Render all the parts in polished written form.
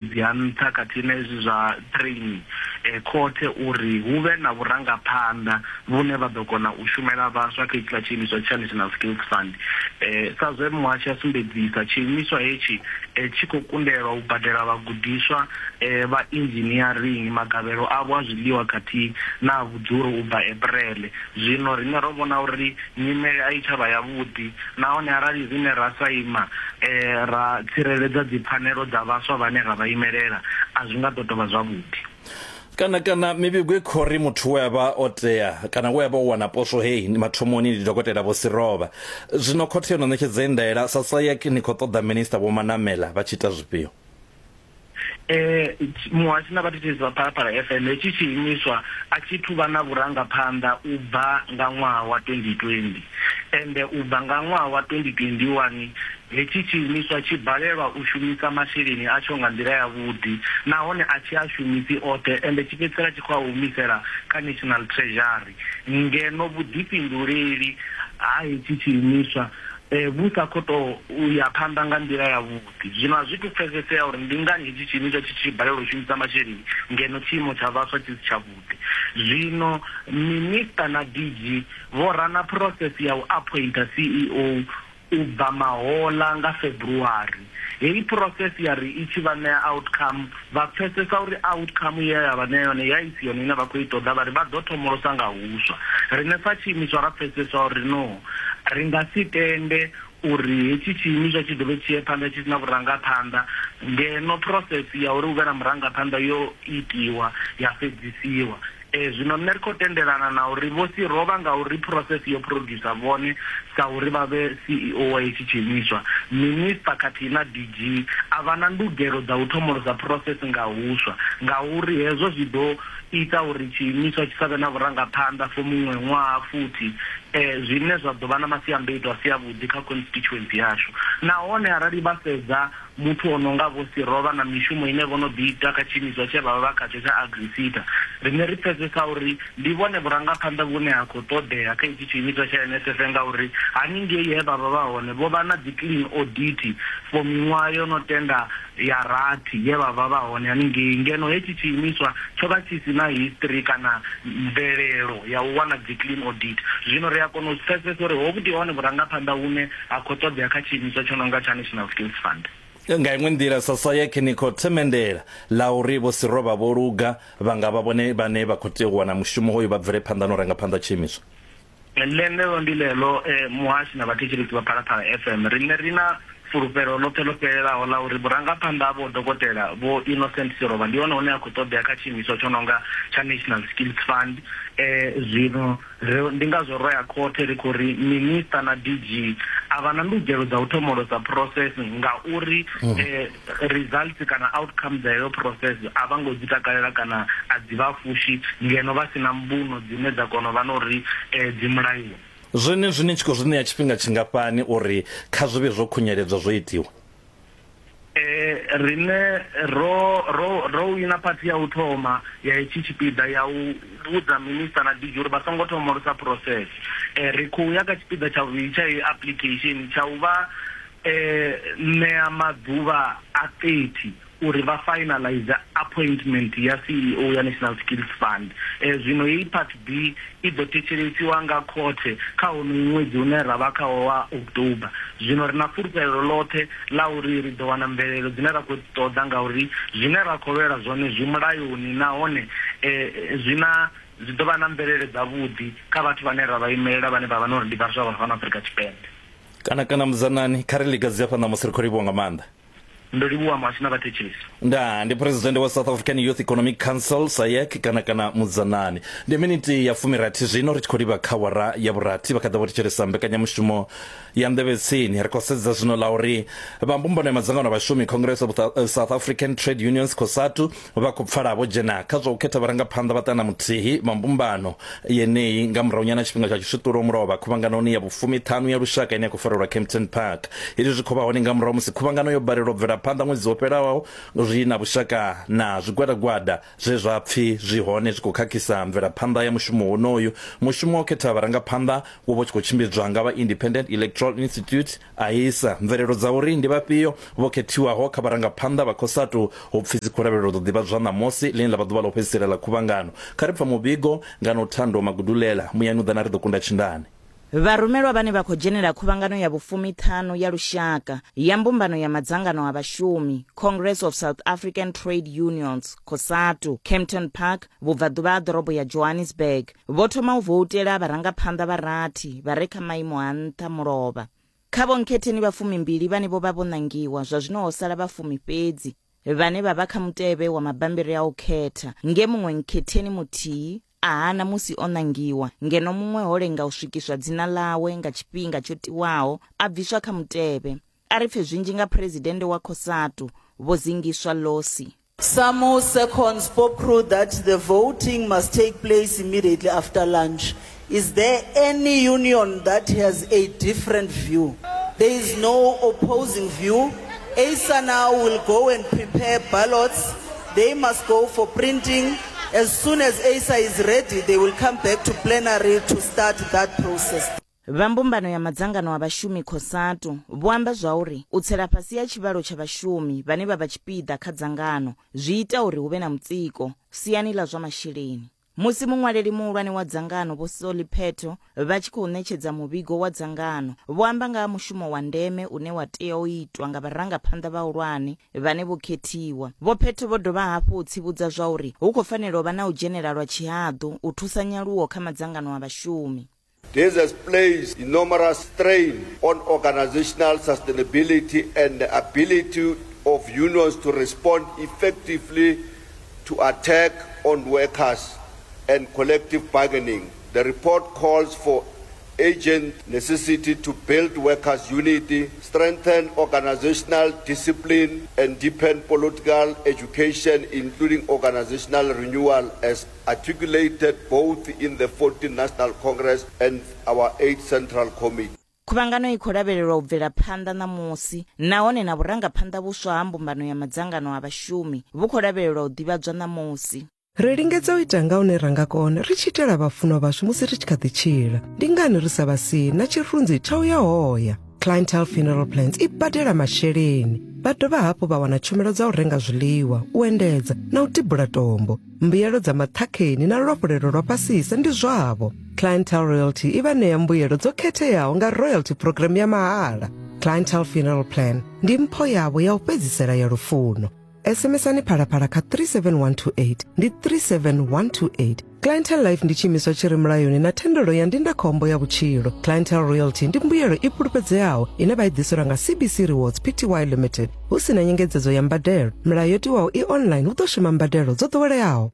Ha nṱha khathihi na hezwi zwa training khothe uri hu vhe na vhurangaphanḓa vhune vha ḓo kona u shumela vhaswa kha hetshiḽa tshiimiswa tsha National Skills Fund. Sa zwe muhashi a sumbedzisa, tshiimiswa hetshi tshi khou kundelwa u badela vhagudiswa vha inzhiniarini magavhelo avho a zwiḽiwa khathihi na a vhudzulo u bva Eprele. Zwino riṋe ro vhona uri nyimele a i tsha vha yavhuḓi nahone arali riṋe ra sa ima ra tsireledza dzipfanelo dza vhaswa vhane ra vha imelela, a zwi nga ḓo tou vha zwavhuḓi. Kana kana mivhigo i khou ri muthu we a vha o tea kana we a vha o wana poswo heyi mathomoni ndi Dokotela Vho Sirovha. Zwino khothe yo no ṋetshedza ndaela, sa SAYEC ni khou ṱoḓa Minisiṱa Vho Manamela vha tshi ita zwifhio? Muhashi na vhathetshelesi vha Phalaphala FM, hetshi tshiimiswa a tshi thu vha na vhurangaphanḓa u bva nga ṅwaha wa 2020. Ende u bva nga ṅwaha wa 2021, hetshi tshiimiswa tshi balelwa u shumisa masheleni atsho nga nḓila yavhuḓi nahone a tshi a shumisi oṱhe ende tshi fhedzisela tshi khou a humisela kha National Treasury ngeno vhuḓifhinduleli ha hetshi tshiimiswa vhu sa khou tou ya phanḓa nga nḓila yavhuḓi. Zwino a zwi tou pfesesea uri ndi ngani hetshi tshiimiswa tshi tshi balelwa u shumisa masheleni ngeno tshiimo tsha vhaswa tshi si tshavhuḓi. Zwino Minisiṱa na DG vho rana phurosese ya u aphointha CEO u bva mahoḽa nga February. Heyi phurosese ya ri i tshi vha ṋea outcome, vha pfesesa uri outcome ye ya vha ṋea yone ya i si yone ine vha khou i ṱoḓa, vha ri vha ḓo thomolosa nga huswa. Riṋe sa tshiimiswa ra pfesesa uri no, ri nga si tende uri hetshi tshiimiswa tshi dovhe tshi ye phanḓa tshi si na vhurangaphanḓa ngeno process ya uri hu vhe na murangaphanḓa yo itiwa ya fhedzisiwa. Zwino nṋe ri khou tendelana na uri Vho Sirovha ngauri process yo producer vhone sa uri vha vhe CEO wa hetshi tshiimiswa, Minister khathihi na DG a vha na ndugelo dza u thomolosa process nga huswa ngauri hezwo zwi ḓo ita uri tshiimiswa tshi sa vhe na vhurangaphanḓa for muṅwe ṅwaha futhi, zwine zwa ḓo vha na masiandoitwa a si avhuḓi kha constituency yashu. Nahone arali vha sedza muthu o no nga Vho Sirovha na mishumo ine vho no ḓi ita kha tshiimiswa tshe vha vha vha khatsho tsha AgriSeta, riṋe ri pfesesa uri ndi vhone vhurangaphanḓa vhune ha khou ṱoḓea kha itshi tshiimiswa tsha NSF ngauri haningei he vha vha vha hone vho vha na dzi clean audit for miṅwaha yo no tenda ya rathi ye vha vha vha hone haningei, ngeno hetshi tshiimiswa tsho vha tshi si na history kana mvelelo ya u wana dzi clean audit. Zwino ri a kona u zwi pfesesa uri hovhu ndi hone vhurangaphanḓa vhune ha khou ṱoḓea kha tshiimiswa tsho no nga tsha National Skills Fund. Nga iṅwe nḓila, SASAIC ni khou themendela ḽa uri Vho Sirovha vho luga, vha nga vha vhone vhane vha khou tea u wana mushumo hoyu vha bvele phanḓa na u ranga phanḓa tshiimiswa. Ḽeneḽo ndi ḽeḽo muhashi na vhathetshelesi vha Phalaphala FM. Riṋe ri na fulufhelo ḽoṱhe ḽo fhelelaho ḽa uri vhurangaphanḓa ha Vho Dokotela Vho Innocent Sirovha ndi hone hune ha khou ṱoḓea kha tshiimiswa tsho no nga tsha National Skills Fund. Zwino ri ndi ngazwo ro ya khothe ri khou ri Minisiṱa na DG a vha na ndugelo dza u thomolosa process ngauri results kana outcome dza heyo process a vha ngo dzi takalela kana a dzi vha fushi ngeno vha si na mbuno dzine dza kona u vha na uri dzi mulayoni. Zwenezwi ni tshi khou zwi ṋea tshifhinga tshingafhani uri kha zwi vhe zwo khunyeledzwa zwo itiwa? Riṋe ro ro ro wina phathi ya u thoma ya hetshi tshipiḓa ya u vhudza minisiṱa na DG uri vha songo thomolosa process. Ri khou ya kha tshipiḓa tsha vhuvhili tsha heyi application tsha u vha ṋea maḓuvha a 30 uri vha finalize appointment ya CEO ya National Skills Fund. Zwino heyi Part B i ḓo thetshelesiwa nga khothe kha honoyu ṅwedzi une ra vha khawo wa October. Zwino ri na fulufhelo ḽoṱhe ḽa uri ri ḓo wana mvelelo dzine ra khou dzi ṱoḓa ngauri zwine ra khou lwela zwone zwi mulayoni nahone zwi na zwi ḓo vha na mvelele dzavhuḓi kha vhathu vhane ra vha imelela vhane vha vha na uri ndi vhaswa vha fhano Afrika Tshipembe. Kana kana Muzanani, kha ri ḽiga dzi afha ṋamusi ri khou livhuwa nga maanḓa. Ndo livhuwa muhashi na vhathetshelesi. Ndaa, ndi Phresidennde wa South African Youth Economic Council, SAYEC, kana kana Mudzanani. Ndi miniti ya fumirathi zwino ri tshi khou livha kha wara ya vhurathi vha kha ḓa vho thetshelesa mbekanyamushumo ya nḓevhe tsini. Ri khou sedza zwino ḽa uri vha mbumbano ya madzangano a vhashumi Congress of South African Trade Unions COSATU vha khou pfala vho dzhena kha zwa u khetha vharangaphanḓa vha ṱana muthihi vha mbumbano yeneyi nga murahunyana tshifhinga tsha tshiswiṱulo mulovha khuvhanganoni ya vhufumiṱhanu ya lushaka ine ya khou farelwa Kempton Park. Hezwi zwi khou vha hone nga murahu musi khuvhangano yo balelwa u bvela. vhurangaphanḓa ṅwedzi wo fhelaho zwi na vhushaka na zwigwadagwada zwe zwa pfi zwi hone zwi khou khakhisa mvelaphanḓa ya mushumo wonoyu. Mushumo wa u khetha vharangaphanḓa wo vha u tshi khou tshimbidzwa nga vha Independent Electoral Institute, AISA. Mvelelo dza uri ndi vhafhio vho khethiwaho kha vharangaphanḓa vha Cosatu hu pfi dzi khou lavhelelwa u ḓo ḓivhadzwa ṋamusi, ḽine ḽa vha ḓuvha ḽa u fhedzisela ḽa khuvhangano. Kha ri pfa muvhigo nga Nothando Magudulela, Muyani u ḓa na ri ḓo kunda tshindane. Vharumelwa vhane vha khou dzhenela khuvhangano ya vhufumiṱhanu ya lushaka ya mbumbano ya madzangano a vhashumi, Congress of South African Trade Unions, Cosatu, Kempton Park, vhubvaḓuvha ha ḓorobo ya Johannesburg, vho thoma u voutela vharangaphanḓa vha rathi vha re kha maimo a nṱha mulovha. Kha vhonkhetheni vha fumimbili vhane vho vha vho ṋangiwa, zwa zwino ho sala vha fumi fhedzi vhane vha vha kha mutevhe wa mabambiri a u khetha, nge muṅwe nkhetheni muthihi a hana musi o ṋangiwa, ngeno muṅwe ho lenga u swikiswa dzina ḽawe nga tshifhinga tsho tiwaho a bviswa kha mutevhe. A ri pfe zwinzhi nga Phresidennde wa Cosatu, Vho Zingiswa Losi. Samu seconds POPCRU that the voting must take place immediately after lunch. Is there any union that has a different view? There is no opposing view. ASA now will go and prepare ballots. They must go for printing. As soon as ASA is ready, they will come back to plenary to start that process. Vha mbumbano ya madzangano a vhashumi Cosatu vho amba zwauri u tsela fhasi ha tshivhalo tsha vhashumi vhane vha vha tshipiḓa kha dzangano zwi ita uri hu vhe na mutsiko siani ḽa zwa masheleni. Musi muṅwaleli muhulwane wa dzangano Vho Solly Pheto vha tshi khou ṋetshedza muvhigo wa dzangano, vho amba nga ha mushumo wa ndeme une wa tea u itwa nga vharangaphanḓa vhahulwane vhane vho khethiwa. Vho Pheto vho dovha hafhu u tsivhudza zwauri hu khou fanela u vha na u dzhenela lwa tshihaḓu u thusa nyaluwo kha madzangano a vhashumi. This has placed enormous strain on organizational sustainability and the ability of unions to respond effectively to attack on workers and collective bargaining. The report calls for urgent necessity to build workers' unity, strengthen organizational discipline, and deepen political education, including organizational renewal, as articulated both in the 14th National Congress and our 8th Central Committee. Khuvhangano i khou lavhelelwa u bvela phanḓa ṋamusi nahone na vhurangaphanḓa vhuswa ha mbumbano ya madzangano a vhashumi vhu khou lavhelelwa u ḓivhadzwa ṋamusi. Ri lingedza u ita nga hune ra nga kona ri tshi itela vhafunwa vhashu musi ri tshi kha ḓi tshila. Ndi ngani ri sa vha sii na tshirunzi tsha u ya hoya? Clientele Funeral Plans i badela masheleni. Vha dovha hafhu vha wana tshumelo dza u renga zwiḽiwa, u endedza na u tibula tombo. Mbuyelo dza maṱhakheni na luafhulelo lwa fhasisa ndi zwavho. Clientele Royalty i vha ṋea mbuyelo dzo khetheaho nga royalty program ya mahala. Clientele Funeral Plan ndi mpho yavho ya u fhedzisela ya lufuno. SMSani phalaphala kha 37128 ndi 37128. Clientele Life ndi tshiimiswa tshi re mulayoni na thendelo ya ndindakhombo ya vhutshilo. Clientele Royalty ndi mbuyelo i fhulufhedzeaho ine vha i ḓiselwa nga CBC Rewards Pty Limited hu si na nyengedzedzo ya mbadelo. Milayo yo tiwaho i online hu ḓo shuma mbadelo dzo ḓoweleaho.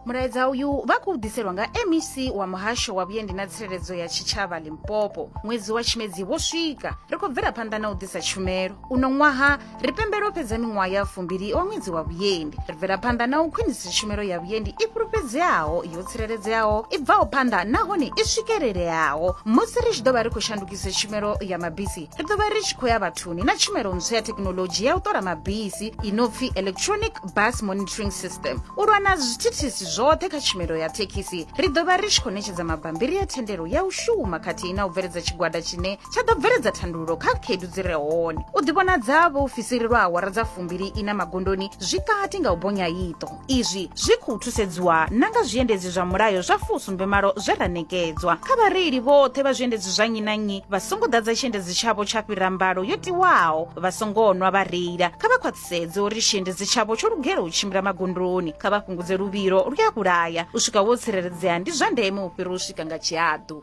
Mulaedza uyu vha khou ḓiselwa nga MEC wa muhasho wa vhuendi na tsireledzo ya tshitshavha Limpopo. Ṅwedzi wa Tshimedzi wo swika, ri khou bvela phanḓa na u ḓisa tshumelo. Uno ṅwaha ri pembela u fhedza miṅwaha ya fumbili wa ṅwedzi wa vhuendi. Ri bvela phanḓa na u khwinisa tshumelo ya vhuendi i fhulufhedzeaho, yo tsireledzeaho, i bvaho phanḓa nahone i swikeleleaho. Musi ri tshi ḓo vha ri khou shandukisa tshumelo ya mabisi, ri ḓo vha ri tshi khou ya vhathuni na tshumelo ntswa ya thekinolodzhi ya u ṱola mabisi i no pfi electronic bus monitoring system. U lwa na zwithithisi zwoṱhe kha tshumelo ya thekhisi, ri ḓo vha ri tshi khou ṋetshedza mabambiri a thendelo ya u shuma khathihi na u bveledza tshigwada tshine tsha ḓo bveledza thandululo kha khaedu dzi re hone. U ḓivhonadza vhaofisiri lwa awara dza fumbili ina magondoni zwi kati nga u bonya iṱo. Izwi zwi khou thusedziwa na nga zwiendedzi zwa mulayo zwa fusumbemalo zwe ra ṋekedzwa. Kha vhareili vhoṱhe vha zwiendedzi zwa nnyi na nnyi vha songo ḓadza tshiendedzi tshavho tsha fhira mbalo yo tiwaho, vha songo nwa vha reila. Kha vha khwaṱhisedze uri tshiendedzi tshavho tsho lugela u tshimbila magondoni. Kha vha fhungudze luvhilo lu ya vhulaya. U swika wo tsireledzea ndi zwa ndeme u fhira u swika nga tshihaḓu.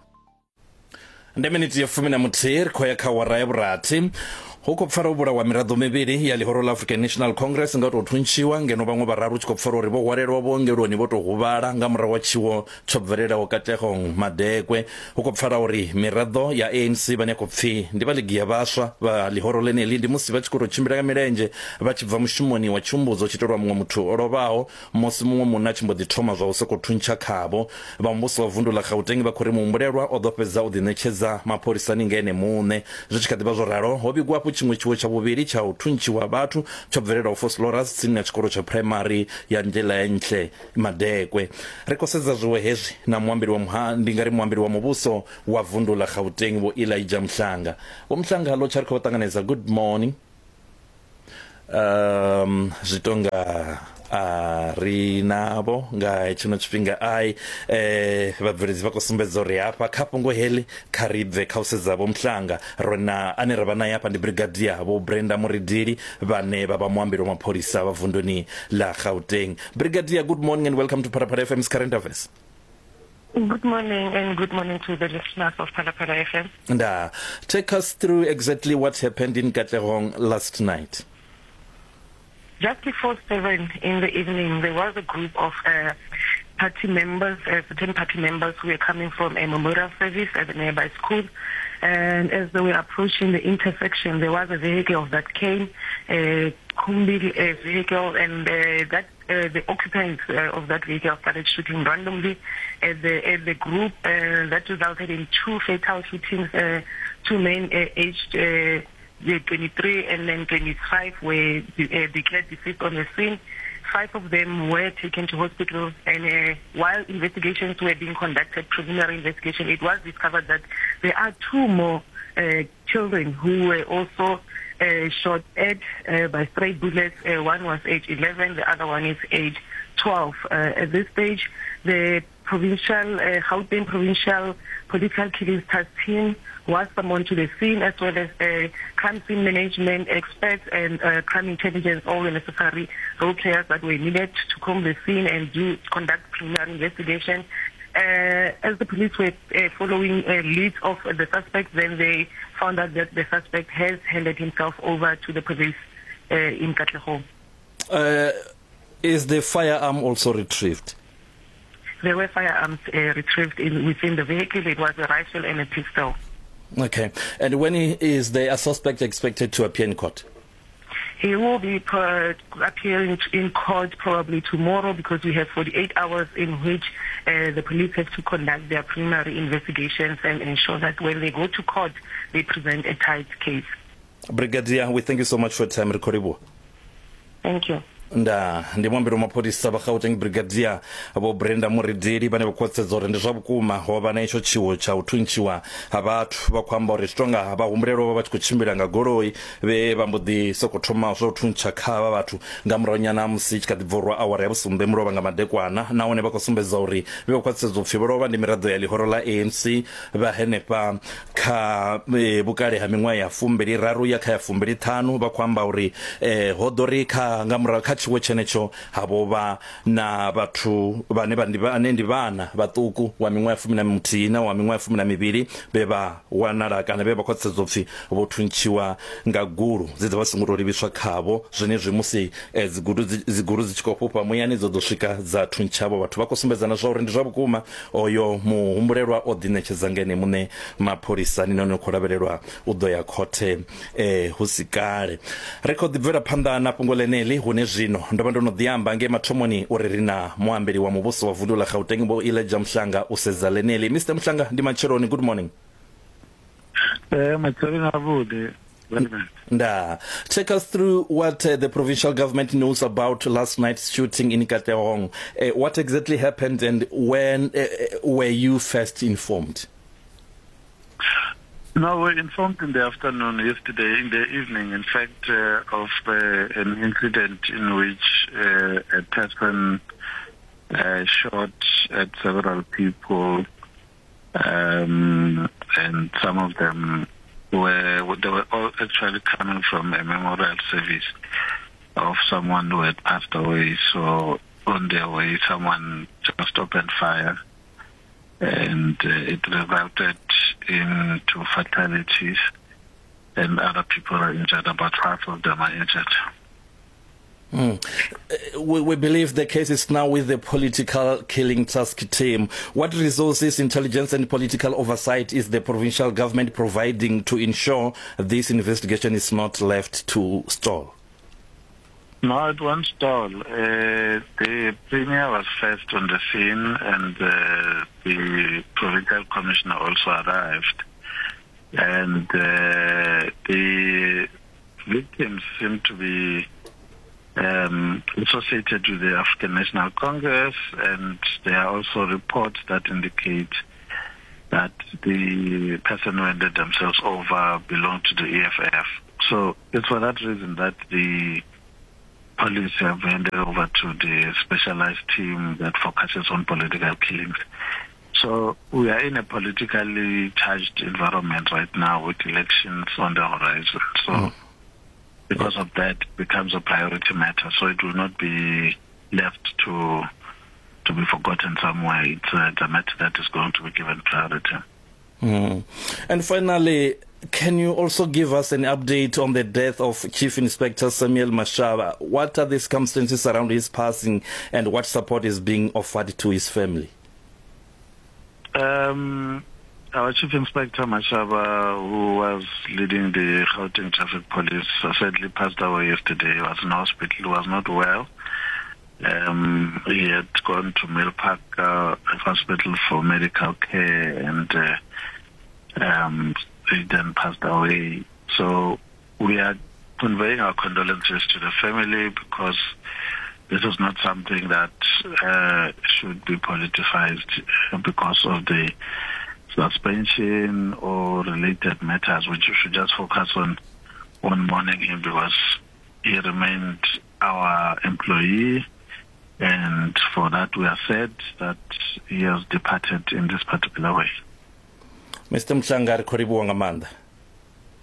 Ndi miniti ya 11 ri khou ya kha wara ya vhurathi. Hu khou pfala u vhulawa miraḓo mivhili ya ḽihoro ḽa African National Congress nga u tou thuntshiwa, ngeno vhaṅwe vhararu hu tshi khou pfala uri vho hwalelwa vhuongeloni vho tou huvhala nga murahu ha tshiwo tsho bvelelaho Katlehong Madekwe. Hu khou pfala uri miraḓo ya ANC vhane ya khou pfi ndi vha ligi ya vhaswa vha ḽihoro ḽeneḽi ndi musi vha tshi khou tou tshimbila nga milenzhe vha tshi bva mushumoni wa tshihumbudzo tshi itelwa muṅwe muthu o lovhaho musi muṅwe munna a tshi mbo ḓi thoma zwa u sokou thuntsha khavho. Vha muvhuso wa vundu ḽa Gauteng vha khou ri muhumbulelwa o ḓo fhedza u ḓiṋetshedza mapholisani nga ene muṋe. Zwi tshi kha ḓi vha zwo ralo, ho vhigwa hafhu hafhu tshiṅwe tshiwo tsha vhuvhili tsha u thuntshiwa vhathu tsho bvelelaho Vosloorus tsini na tshikolo tsha phuraimari ya Ndlelaentle Madekwe. Ri khou sedza zwiwo hezwi na muambeli wa muha ndi nga ri muambeli wa muvhuso wa vundu ḽa Gauteng Vho Elijah Mhlanga. Vho Mhlanga ḽo tsha ri khou vha ṱanganedza. Good morning. Um zwi tonga a ri navho nga hetshino tshifhinga ai eh vhabveledzi vha khou sumbedza uri hafha kha fhungo heḽi kha ri bve kha u sedza vho Mhlanga ro na ane ra vha naye hafha ndi Brigadier Vho Brenda Muridili vhane vha vha muambeli wa mapholisa vha vunduni ḽa Gauteng. Brigadier, good morning and welcome to Phalaphala FM's Current Affairs. Good morning and good morning to the listeners of Phalaphala FM. Nda, take us through exactly what happened in Katlehong last night. Just before 7 in the evening, there was a group of uh, party members, uh, certain party members who were coming from a memorial service at the nearby school. And as they were approaching the intersection, there was a vehicle that came, a Kumbi uh, vehicle, and uh, that uh, the occupants uh, of that vehicle started shooting randomly at the, at the group. Uh, that resulted in two fatal shootings, uh, two men uh, aged uh, 23 and then 25 were uh, declared deceased on the scene. Five of them were taken to hospital, and uh, while investigations were being conducted, preliminary investigation, it was discovered that there are two more uh, children who were also uh, shot at uh, by stray bullets. Uh, one was age 11, the other one is age 12. Uh, at this stage, the provincial, uh, Gauteng Provincial Political Killings Task Team was summoned to the scene, as well as uh, crime scene management experts and uh, crime intelligence, all the necessary role players that were needed to comb the scene and do conduct preliminary investigation. Uh, as the police were uh, following uh, leads of the suspect, then they found out that the suspect has handed himself over to the police uh, in Katlehong. Uh, is the firearm also retrieved? There were firearms uh, retrieved in, within the vehicle. It was a rifle and a pistol. Okay. And when is the suspect expected to appear in court? He will be appearing in court probably tomorrow because we have 48 hours in which uh, the police have to conduct their preliminary investigations and ensure that when they go to court, they present a tight case. Brigadier, we thank you so much for your time. Re Thank you. Nda ndi muambeli wa mapholisa vha Gauteng Brigadier Vho Brenda Muridili vhane vha khwaṱhisedza uri ndi zwa vhukuma ho vha na itsho tshiwo tsha u thuntshiwa ha vhathu. Vha khou amba uri zwi tonga vha humbulelwa vha vha tshi khou tshimbila nga goloi vhe vha mbo ḓi sokou thoma zwa u thuntsha kha havha vhathu nga murahunyana ha musi i tshi kha ḓi bva u rwa awara ya vhusumbe mulovha nga madekwana nahone vha khou sumbedza uri vhe vha khwaṱhisedza u pfi vho lovha ndi miraḓo ya ḽihoro ḽa ANC vha henefha kha e, vhukale ha miṅwaha ya fumbili raru ya kha ya fumbili ṱhanu vha khou amba uri e, ho ḓo ri kha nga murahu kha tshiwo tshenetsho ha vho vha na vhathu vhane vha ndi vhane ndi vhana vhaṱuku wa miṅwaha ya fumi na muthihi na wa miṅwaha ya fumi na mivhili vhe vha wanala kana vhe vha khwaṱhisedzwa upfi vho thuntshiwa nga gulu dze dza vha songo tou livhiswa khavho zwenezwi musi e, dzigudu dzigulu dzi tshi khou fhufha muyani dzo ḓo swika dza thuntsha havho vhathu vha khou sumbedzana zwa uri ndi zwa vhukuma Oyo muhumbulelwa o ḓiṋetshedza nga ene muṋe mapholisani nahone u khou lavhelelwa u ḓo ya khothe eh, hu si kale. Ri khou ḓi bvela phanḓa na fhungo ḽeneḽi hune zwino ndo vha ndo no ḓi amba ngei mathomoni uri ri na muambeli wa muvhuso wa vundu ḽa Gauteng Vho Elijah Mhlanga u sedza ḽeneḽi. Mister Mhlanga, ndi matsheloni, good morning. Eh, matsheloni avhuḓi. Nda. Take us through what uh, the provincial government knows about last night's shooting in Katlehong. Uh, what exactly happened and when uh, were you first informed? No, we were informed in the afternoon yesterday, in the evening, in fact, uh, of uh, an incident in which uh, a person uh, shot at several people, um, and some of them were, they were all actually coming from a memorial service of someone who had passed away. So on their way, someone just opened fire, and uh, it resulted in two fatalities, and other people are injured. About five of them are injured. Mm. We, we believe the case is now with the political killing task team. What resources, intelligence and political oversight is the provincial government providing to ensure this investigation is not left to stall? No, it won't stall. Uh, the premier was first on the scene and uh, the provincial commissioner also arrived. And uh, the victims seem to be um, associated with the African National Congress, and there are also reports that indicate that the person who handed themselves over belonged to the EFF. So it's for that reason that the police have handed over to the specialized team that focuses on political killings. So we are in a politically charged environment right now with elections on the horizon. So mm. because of that, it becomes a priority matter. So it will not be left to to be forgotten somewhere. It's a, it's a matter that is going to be given priority. Mm. And finally, can you also give us an update on the death of Chief Inspector Samuel Mashaba? What are the circumstances around his passing and what support is being offered to his family? Um, our Chief Inspector Mashaba, who was leading the Gauteng Traffic Police, sadly passed away yesterday. He was in hospital, he was not well. Um, he had gone to Mill Park uh, Hospital for medical care and uh, um, he then passed away. So we are conveying our condolences to the family because this is not something that uh, should be politicized because of the suspension or related matters, which you should just focus on on mourning him because he remained our employee and for that we are sad that he has departed in this particular way. Mr Mhlanga ri khou livhuwa nga maanḓa.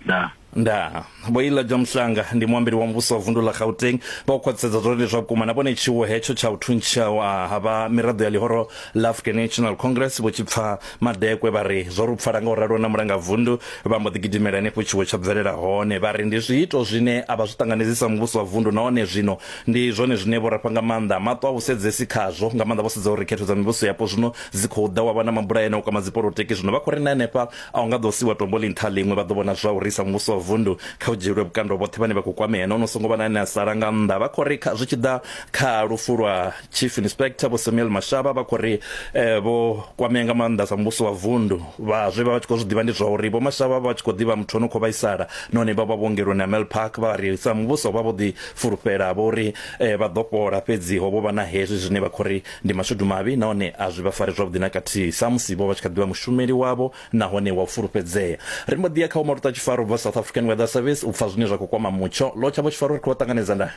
Ndaa. Ndaa. Vho Elijah Mhlanga ndi muambeli wa muvhuso wa vundu ḽa Gauteng vha u khwaṱhisedza zwa uri ndi zwa vhukuma na vhone tshiwo hetsho tsha u thuntshiwa ha vha miraḓo ya ḽihoro ḽa African National Congress vho tshi pfa madekwe vha ri zwo ri pfala nga u ralo na mulanga vundu vha mbo ḓi gidimela henefho tshiwo tsha bvelela hone vha ri ndi zwiito zwine a vha zwi ṱanganedzi sa muvhuso wa vundu nahone zwino ndi zwone zwine vho rafha nga maanḓa maṱo a vhusedzesi khazwo nga maanḓa vho sedza uri khetho dza mivhuso yapo zwino dzi khou ḓa wa vha na mabulayo ane o kwama dzipolotiki zwino vha khou ri na henefha a hu nga ḓo siwa tombo ḽi nṱha ḽiṅwe vha ḓo vhona zwa uri sa muvhuso wa vundu kha u dzhielwe vhukando vhoṱhe vhane vha khou kwamea nahone hu songo vha na ane a sala nga nnḓa vha khou ri zwi tshi ḓa kha lufu lwa chief inspector vho Samuel Mashaba vha khou ri eh, vho kwamea nga maanḓa sa muvhuso wa vundu vha zwe vha vha tshi khou zwi ḓivha ndi zwa uri vho Mashaba vha tshi khou ḓivha muthu ono khou vhaisala nahone vha vha vhuongeloni ha Mel Park vha ri sa muvhuso vha vho ḓi fulufhela vho uri eh, vha ḓo fhola fhedzi ho vho vha na hezwi zwine vha khou ri ndi mashudu mavhi nahone a zwi vha fari zwavhuḓi na kathihi samusi vho vha tshi kha ḓivha mushumeli wavho nahone wa u fulufhedzea. Ri mbo ḓi ya kha Vho Maluta Tshifaro u bva South African Weather Service u pfa zwine zwa khou kwama mutsho. Lotsha Vho Tshifaro ri khou vha ṱanganedza ndaa.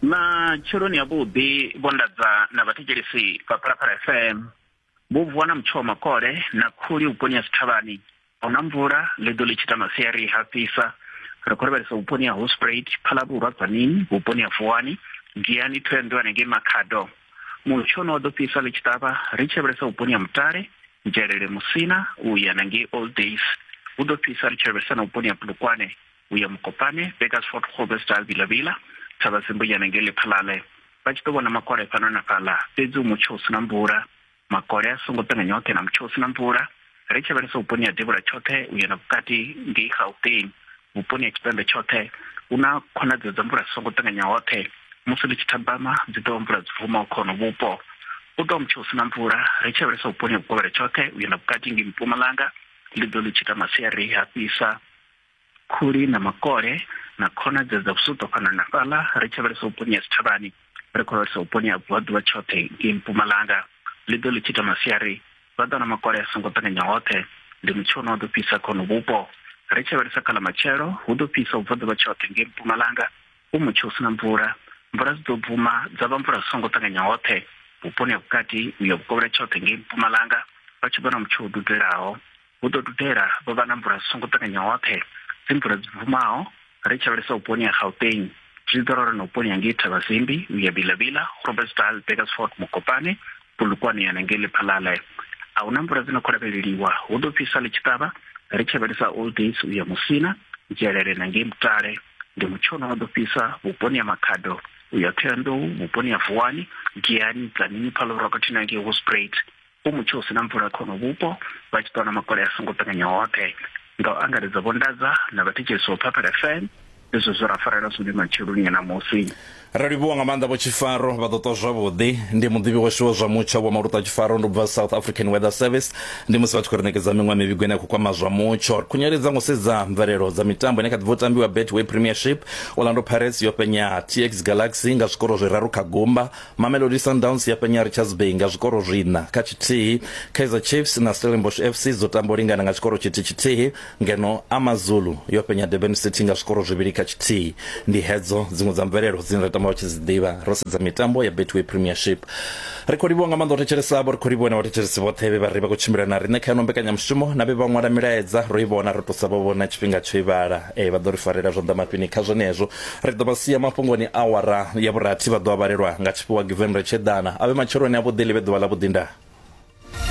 Matsheloni avhuḓi Vho Ndadza na vhathetshelesi vha Phalaphala FM. Vho vuwa na mutsho wa makole na khuli vhuponi ha Sithavhani. A huna mvula, ḽi ḓo ḽi tshi ita masiari ha fhisa. Ri khou lavhelesa vhuponi ha Hoedspruit, Phalaborwa, Tzaneen, vhuponi ha Vuwani, Giyani, Thohoyandou hanengei Makhado. Mutsho une wa ḓo fhisa ḽi tshi ṱavha ri tshi lavhelesa vhuponi ha Mutale, Nzhelele, Musina u ya na ngei Old Days. Hu ḓo fhisa ri tshi lavhelesa na vhuponi ha Polokwane u ya Mokopane, Burgersfort, Groblersdal, Vila-Vila, Thavhazimbu ya na ngei Lephalale. Vha tshi ḓo vhona makole fhano na fhaḽa, fhedzi hu mutsho u si na mvula. Makole a songo ṱanganya oṱhe na mutsho u si na mvula. Ri tshi lavhelesa vhuponi ha devhula tshoṱhe u ya na vhukati ngei Gauteng, vhuponi ha tshipembe tshoṱhe hu na khonadzeo dza mvula dzi songo ṱanganya hoṱhe. Musi ḽi tshi thabama dzi ḓo vha mvula dzi bvumaho kha hono vhupo. U tou mutsho u si na mvula. Ri tshi lavhelesa vhuponi ha vhukovhela tshoṱhe u ya na vhukati ngei Mpumalanga, ḽi ḓo ḽi tshi ita masiari ha fhisa. Khuli na makole na khonadzeo dza vhusuṱo fhano na fhaḽa. Ri tshi lavhelesa vhuponi ha Sithavhani, ri khou lavhelesa vhuponi ha vhubvaḓuvha tshoṱhe ngei Mpumalanga, ḽi ḓo ḽi tshi ita masiari vha ḓo wana makole a songo ṱanganya hoṱhe. Ndi mutsho une wa ḓo fhisa kha hono vhupo. Ri tshi lavhelesa kha ḽa matshelo, hu ḓo fhisa vhubvaḓuvha tshoṱhe ngei Mpumalanga, hu mutsho u si na mvula. Mvula dzi ḓo bvuma dza vha mvula dzi songo ṱanganya hoṱhe vhuponi ha vhukati u ya vhukovhela tshoṱhe ngei Mpumalanga, vha tshi vhona mutsho u dudelaho. Hu ḓo dudela vha vha na mvula dzi songo ṱanganya hoṱhe, dzi mvula dzi bvumaho. Ri tshi lavhelesa vhuponi ha Gauteng, zwi ḓo ralo na vhuponi ha ngei Thabazimbi u ya Bila-Bila, Groblersdal, Burgersfort, Mokopane, Polokwane ya na ngei Lephalale. A hu na mvula dzi no khou lavheleliwa, hu ḓo fhisa ḽi tshi ṱavha. Ri tshi lavhelesa Old Days u ya Musina, Nzhelele na ngei Mutale, ndi mutsho une wa ḓo fhisa vhuponi ha Makhado u ya Thohoyandou, vhuponi ha Vuwani, Giyani, Tzaneen, Phalaborwa khathihi na ngei Hoedspruit. Hu mutsho u si na mvula kha hono vhupo, vha tshi ṱwa na makole a songo ṱanganya hoṱhe. Nga u angaredza Vho Ndadza na vhathetshelesi vha Phaphela FM, ndi zwe zwe ra farela zwone matsheloni a ṋamusi. Ra livhuwa nga maanḓa Vho Tshifaro, vha ḓo ṱwa zwavhuḓi. Ndi muḓivhi washu wa zwa mutsho Vho Maluta Tshifaro, ndi u bva South African Weather Service. Ndi musi vha tshi khou ri ṋekedza miṅwe ya mivhigo ine ya khou kwama zwa mutsho. Ri khunyeledza nga u sedza mvelelo dza mitambo ine kha ḓi bva u tambiwa Betway Premiership. Orlando Pirates yo fhenya TX Galaxy nga zwikoro zwiraru kha gumba. Mamelodi Sundowns ya fhenya Richards Bay nga zwikoro zwiṋa kha tshithihi. Kaizer Chiefs na Stellenbosch FC dzo tamba u lingana nga tshikoro tshithihi tshithihi. Ngeno AmaZulu yo fhenya Durban City nga zwikoro zwivhili kha tshithihi. Ndi hedzo dziṅwe dza mvelelo dzine ra tama vha tshi dzi ḓivha ro sedza mitambo ya Betway Premiership. Ri khou livhuwa nga maanḓa u thetshelesa avho, ri khou livhuwa na vhathetshelesi vhoṱhe vhe vha ri vha khou tshimbila na riṋe kha ino mbekanyamushumo na vhe vha ṅwala milaedza ro i vhona ro tou sa vha vhona tshifhinga tsho i vhala. Ee, vha ḓo ri farela zwanḓa mafhini kha zwenezwo. Ri ḓo vha sia mafhungoni awara ya vhurathi vha ḓo a vhalelwa nga tshifhiwa Given Retsheḓana. A vhe matsheloni avhuḓi ḽi vhe ḓuvha ḽavhuḓi ndaa.